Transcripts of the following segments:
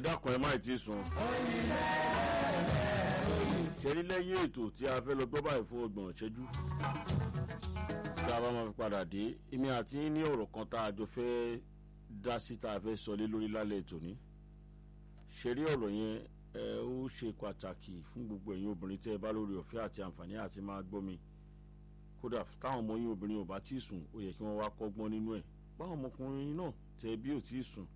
Dákun, ẹ má ì tí ì sùn. Ṣẹ́rí lẹ́yìn ètò tí a fẹ́ lọ gbọ́ báyìí fún 30 ìṣẹ́jú, tí a bá máa fi padà dé, èmi àti yín ní ọ̀rọ̀ kan tá a jọ fẹ́ dá sí, tá a fẹ́ sọ lé lórí lálẹ́ ètò ní. Ṣẹ́rí ọ̀rọ̀ yẹn, ẹ ó ṣe pàtàkì fún gbogbo ẹ̀yin obìnrin tẹ́ ẹ bá lórí ọ̀fẹ́ àti àǹfààní àti máa gbọ́ mi. Kódà táwọn ọmọ yín obìnrin ò bá tí ì sùn, ó yẹ kí wọ́n wá kọ́gbọ́n nínú ẹ̀. Báwọn ọmọkùnrin náà tẹ bí ò tí ì sùn,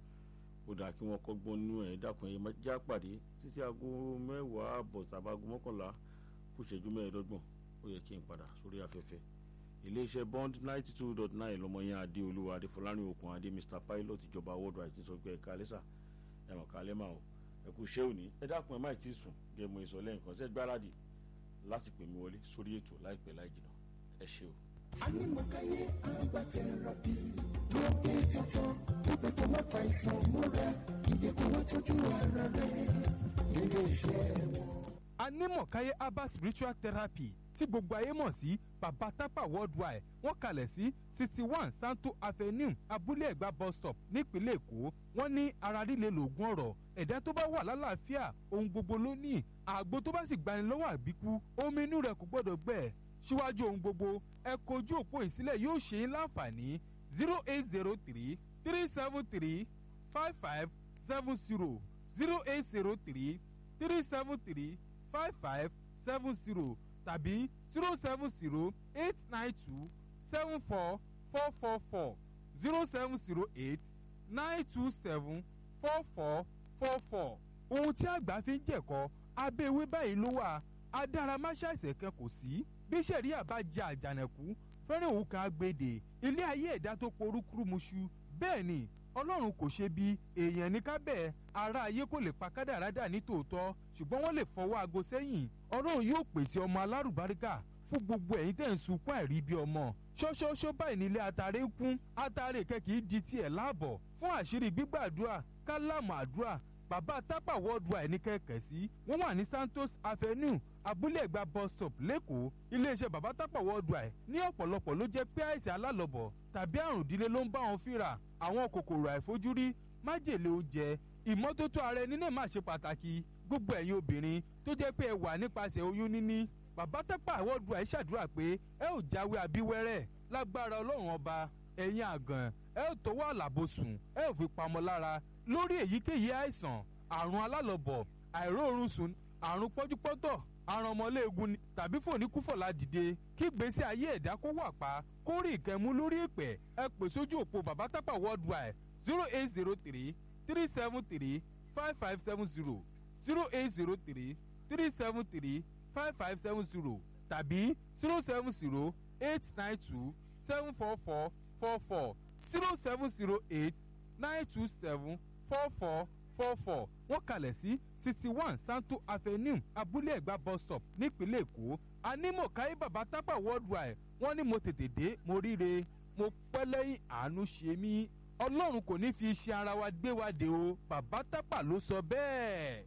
ó dáa kí wọ́n kọ́gbọ́n nínú ẹ̀. Dákun, ẹ já pàdé títí aago 10:30 tàbí aago 10:45, ó yẹ kí n padà sórí afẹ́fẹ́ iléeṣẹ́ Bond 92.9. Lọ́mọ yẹn, Adéolúwa Adéfọlárìn Okùn Adé, Mr Pilot, ìjọba worldwide, ti sọ pé ẹ̀ka lẹ́sà ẹ̀mọ̀ kálẹ́ máa o, ẹ̀kú iṣẹ́ òní. Ẹ dákun, ẹ má tí ì sùn. Gẹ̀mú ìsọ̀lẹ̀ nǹkan ṣẹ́ gbáradì láti pè mí wọlé sórí ètò láìpẹ́ láì jìnnà. Ẹ ṣé o. Anímọ̀káyé agbátẹrọbí lókè jọjọ ibẹ̀ tó má pa ìsàn mọ́ra ìdẹ́kun wọ́n tọ́jú ara rẹ̀ nílé iṣẹ́ wọn. Anímọ̀káyé herbal spiritual therapy tí gbogbo ayé mọ̀ sí Baba Tapa Worldwide, wọ́n kalẹ̀ sí 61 Santo Avenue, Abúlé Ẹ̀gbá bus stop, nípínlẹ̀ Èkó. Wọ́n ní ara líle lògùn ọ̀rọ̀. Ẹ̀dá tó bá wà lálàáfíà, ohun gbogbo ló ní. Àgbo tó bá sì gbani lọ́wọ́ àbíkú, omi inú rẹ̀ kò gbọ́dọ̀ gbẹ. Síwájú ohun gbogbo, ẹ kojú òpó ìsílẹ̀ yóò ṣe é láǹfààní: 08033735570, 08033735570 tàbí 07089274444, 07089274444. Ohun tí àgbà fi ń jẹ̀kọ́ abẹ́ ewé báyìí ló wà. Adáramáṣàìsàn kan kò sí bí sẹ̀ríà bá jẹ àjànàkú fẹ́rẹ̀ òun kan agbèdè ilé ayé ẹ̀dá tó porúkúrú muṣu. Bẹ́ẹ̀ ni Ọlọ́run kò ṣe bí èèyàn ní kábẹ́ ara ayé kò lè pa kádàrádà ní tòótọ́, ṣùgbọ́n wọ́n lè fọwọ́ aago sẹ́yìn. Ọlọ́run yóò pèsè ọmọ alárùbáríkà fún gbogbo ẹ̀yin tẹ̀ ń sunkún àìrí bí ọmọ. Ṣọ́ṣọ́ṣọ́ báyìí nílé atare kún atare kẹ́kì di tiẹ̀ láàbọ̀ fún àṣírí gbígbàdúrà kálámù àdúrà. Bàbá Tápà Worldwide ní kẹ̀kẹ́ sí. Wọ́n wà ní Santos Avenue, Abúlé Ẹ̀gbá bus stop, lẹ́kọ̀ọ́. Iléeṣẹ́ Bàbá Tápà Worldwide ní ọ̀pọ̀lọpọ̀ ló jẹ́ pé àìsàn alálọ̀bọ̀ tàbí àrùn ìdílé ló ń bá wọn fínra, àwọn kòkòrò àìfojúrí, májèlé oúnjẹ. Ìmọ́tótó ara ẹni náà má ṣe pàtàkì. Gbogbo ẹ̀yin obìnrin tó jẹ́ pé ẹ wà nípasẹ̀ oyún níní, Bàbá Tápà Worldwide ṣàdúrà pé ẹ ò jáwé abíwẹ́rẹ́ lágbára Ọlọ́run Ọba. Ẹ̀yin àgàn, ẹ ò tọwọ́ àlàbòsùn, ẹ ò fi pamọ́ lára lórí èyíkéyìí àìsàn, àrùn alálọ̀bọ̀, àìróorun sùn, àrùn pọ́júpọ́tọ̀, àrùn ọmọléegun tàbí fòníkúfọ̀lá dìde, kí gbèsè ayé ẹ̀dá kó wà pa, kó rí ìkẹ́mú lórí ìpẹ́. Ẹ pè sójú òpó Bàbá Tápà Worldwide: 08033735570, 08033735570 tàbí 07089274444, 07089274444. Wọ́n kalẹ̀ sí 61 Santo Avenue, Abúlé Ẹ̀gbá bus stop, nípínlẹ̀ Èkó. Anímọ̀káyé Bàbá Tápà Worldwide, wọ́n ní mo tètè dé, mo ríre, mo pẹ́ lẹ́yìn, àánú ṣe mí. Ọlọ́run kò ní fi iṣẹ́ ara wa gbé wa dé o. Bàbá Tápà ló sọ bẹ́ẹ̀.